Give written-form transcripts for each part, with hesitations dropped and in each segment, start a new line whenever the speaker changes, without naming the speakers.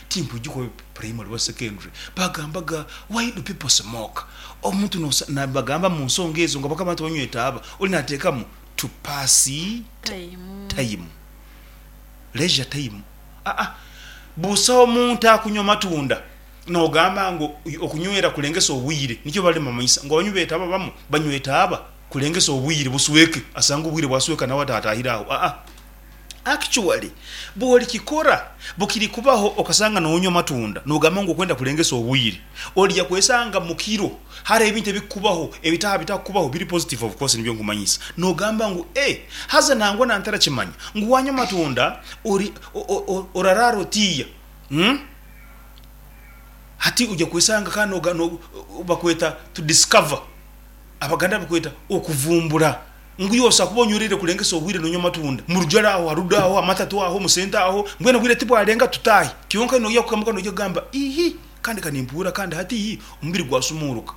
Tinkwijuka oba primary oba secondary, bagambaga why do people smoke? Omuntu nosa nabagamba mu nsonga ezo nga bakaba abantu banywa etaaba, oli nateekamu to pass time, leisure time. Aa busa omuntu akunywa matunda nogamba ngu okunywera kulengesa obwire, nikyo bali nibamanyisa ngu abanywi b'etaaba abamu banywa etaaba kulengesa obwire busweke, asange obwire bwasweka nawe ataatahire aho. Aa. Actually bwolikikora bukiri kubaho okasanga nonywa amatunda nogamba ngu okwenda kulengesa obwire, olija kwesanga mukiro hariho ebintu ebikukubaho ebitaha bitakukubaho biri positive of course nibyo nkumanyisa nogamba ngu eh haza nangwa nantarakimanya ngu wanywa amatunda ori orarara otiya umm hati oja kwesanga kandi bakweta to discover Abaganda bakweta okuvumbura. Ngu iwe osobola kuba onywereire kurengesa obwire nonywa amatunda. Murujare aho, harudo aho, amatatu aho, musente aho, mbwenu obwire tibwarenga tutaahe. Kyonka noija kukamuka noija kugamba, Ihi, kandi ka nimpuura kandi hati ihi, omubiri gwasumuuruka.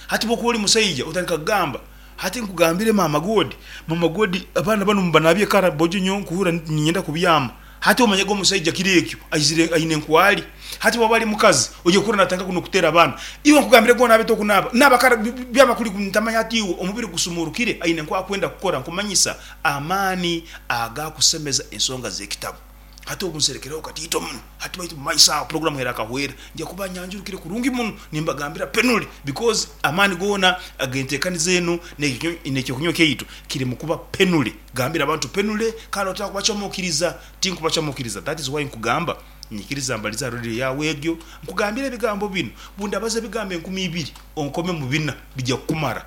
Hati bwokuba ori musaija otandika kugamba, hati nkugambire maama God, maama God abaana banu mubanaabye kara bojo nyowe nkuhurira niinyenda kubyama. Hati omanye ge omusaija kiro ekyo aizire aine nkwari. Hati bwaba ari mukazi oija kuhurira natandika nokuteera abaana. Iwe nkugambire gwe onaabe tokunaaba. Naaba kara byaba kuri ntamanya hati iwe omubiri gusumurukire aine nku akwenda kukora nkumanyisa amaani agakusemeza ensonga zekitabo. Hati obu nserekereho katiito muno. Hati baitu mumaiso aho puroguramu erakahwera nja kuba nyanjurukire kurungi muno nimbagambira penuli because amaani goona agentekaniza enu nekyokunywa kyaitu kiri mukuba penuli. Gambira abantu penule kandi otakubacamukiriza. Tinkubacamukiriza that is why nkugamba nyikiriza mbalize aha radio yaawe egyo nkugambire ebigambo binu. Bundabaza ebigambo 2000 onkome mu bina bija kukumara.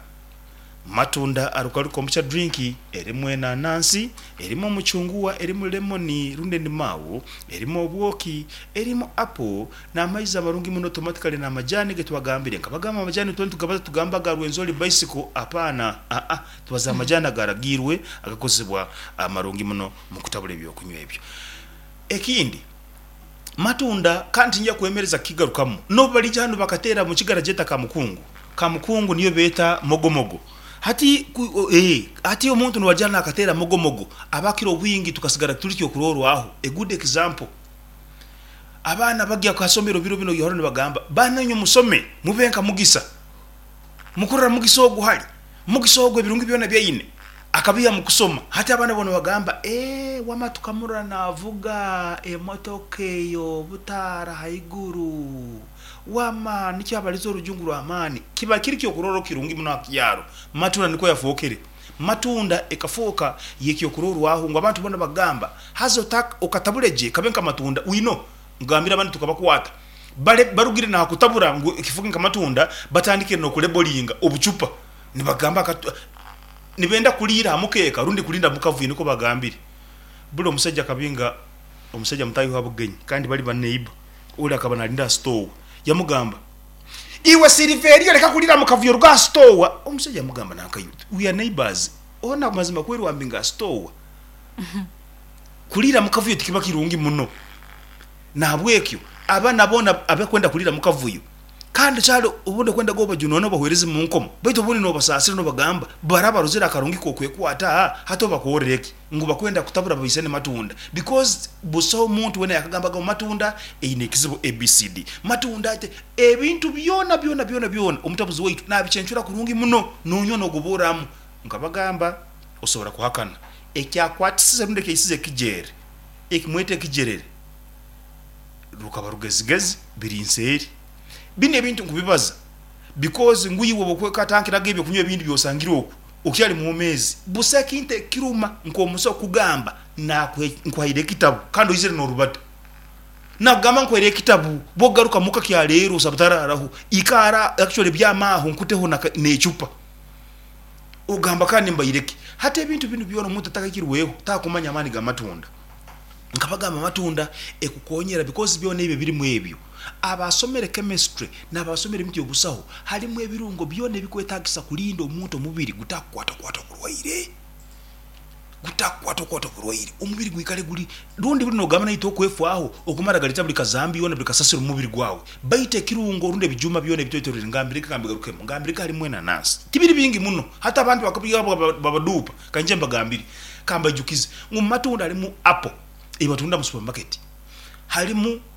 Matunda aruka kombucha drink erimu enanansi, erimu omucunguwa, erimu lemon rundi endimawu, erimu obwoki, erimu apple n'amaizi amarungi muno automatically n'amajani getwagambire. Nkabagamba amajani twena tugabaza tugamba aga Rwenzori bicycle apaana aa. Tubaza amajani agaragiirwe agakozesebwa amarungi muno mu kutabura eby'okunywa ebyo. Ekindi, matunda kandi tinja kwemereza kukigarukamu, n'obu bariija hanu bakateera mu kigara gyeta kamukungu. Kamukungu niyo beeta mogomogo. Hati, ee, hati omuntu niwaija hanu akateera mogomogo, abakira obwingi tukasigara turi ky'okuroorwaho. A good example, abaana bagya aha somero biro binu oihaho nibagamba, baana inywe musome mube nka Mugisa. Mukurora Mugisa ogu hali. Mugisa ogu ebirungi byona ebi aine akabiiha mu kusoma. Hati abaana boona bagamba, Ee, wama tukamurora naavuga emotoka ey'obutaara haiguru. Wama nikyo abaliza orujungu rw'amaani. Kiba kiri ky'okurorraho kirungi muno ha kyaro. Matunda nikwo yafookere. Matunda ekafooka y'ekyokurorwaho ngu abantu boona bagamba, Haza okatabura gye kabe nka matunda. We know. Ngambire abandi tukabakwata bare barugire naha kutabura ngu ekifuke nka matunda batandikire nokulebolinga obucupa nibagamba akatu nibenda kuriira aha mukeeka rundi kurinda mukavuyo nikwo bagambire. Buri omusaija akabinga omusaija mutaahi we aha bugenyi kandi bari ba neighbor ori akaba narinda aha sitoowa yamugamba iwe Silveria reka kuriira mukavuyo ruga aha sitoowa omusaija yamugamba nanka iwe we are neighbors ona mazima kweri wambinga aha sitoowa Kuriira mu kavuyo tikiba kirungi muno. Nahabwekyo abaana boona abakwenda kuriira mu kavuyo, kandi kyali obundi okwenda g'obajunoone obahwereze mu nkomo, baitu obundi nobasaasira nobagamba baraba barozire akarungi k'okwekwata, hati obakorre ki? Ngu bakwenda kutabura babaisane matunda because busaho muntu weena yakagambaga ngu matunda eine ekizibu ABCD. Matunda ate ebintu byona byona byona byona omutabuzi waitu nabicencura kurungi muno nonywa nogoborramu. Nkabagamba osobora kuhakana. Ekyakwatisize rundi ekyaisize ekigyere, eki mweta ekigyerere, rukaba rugezigezi biri nseeri. Binu ebintu nkubibaza because ngu iwe obwokwekatankiraga ebyokunywa ebindi byosangire oku, okyali mwomeezi. Busa ekintu ekiruma nk'omusaho kugamba nkuhaire ekitabu kandi oizire n'orubata. Nakugamba nkuhaire ekitabu, bwokugaruka muka kyaleero osaba tararaho, ikaara actually byama aho nkuteho n'ecupa. Ogamba kandi mbaire ki? Hati ebintu binu byona omuntu atakahikirweho takumanya amaani g'amatunda. Nkabagamba amatunda ekukonyera because byona ebyo ebirimu ebyo. Abasomere chemistry n'abasomere ebintu by'obusaho harimu ebirungo byona ebikwetagisa kulinda omuntu omubiri gutakukwatakwata oburwaire. Gutakukwatakwata oburwaire, omubiri gwikale guri rundi buri nogamba naitwe okwefwaho okumara galeta buri kazambi yona buri kasasiro omu mubiri gwawe. Baitu ekirungo rundi ebijuma byona ebitwetoroire ngambire ki kambigarukemu ngambire ki harimu enanansi. Tibiri bingi muno hati abantu bakabaduupa kanyije mbagambire kambaijukize ngu mu matunda harimu apple ei batunda mu supermarket harimu.